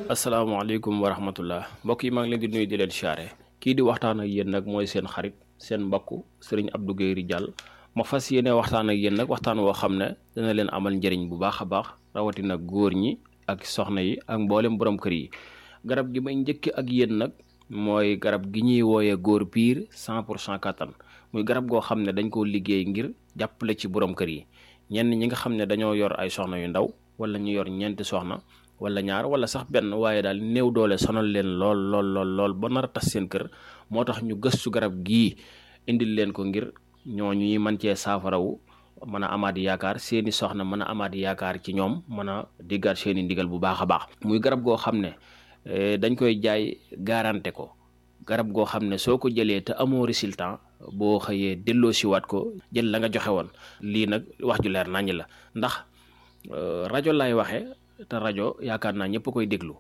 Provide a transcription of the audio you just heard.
asalaamaaleykum wa rahmatullah mbokk yi maa ngi leen di nuyu di leen siyaare kii di waxtaan ak yéen nag mooy seen xarit seen mbokk sëriñ Abdou Guèye Ridial ma fas yéene waxtaan ak yéen nag waxtaan woo xam ne dana leen amal njëriñ bu baax a baax rawatina góor ñi ak soxna yi ak mboolem borom kër yi garab gi may njëkk ak yéen nag mooy garab gi ñuy wooyee góor piir 100% kattan muy garab goo xam ne dañ koo liggéey ngir jàppale ci borom kër yi ñenn ñi nga xam ne dañoo yor ay soxna yu ndaw wala ñu yor ñeenti soxna wala ñaar wala sax benn waaye daal néew doole sonal leen lool ba nar a tas seen kër moo tax ñu gëstu garab gii indil leen ko ngir ñooñu ñi mën cee saafarawu mën a amaat yaakaar seeni soxna mën a amaat yaakaar ci ñoom mën a diggaat seeni ndigal bu baax a baax. muy garab goo xam ne dañ koy jaay garanté ko garab goo xam ne soo ko jëlee te amoo résultat boo xëyee delloo siwaat ko jël la nga joxe woon lii nag wax ju leer naññ la ndax rajo laay waxee. te rajo yaakaar naa ñëpp koy déglu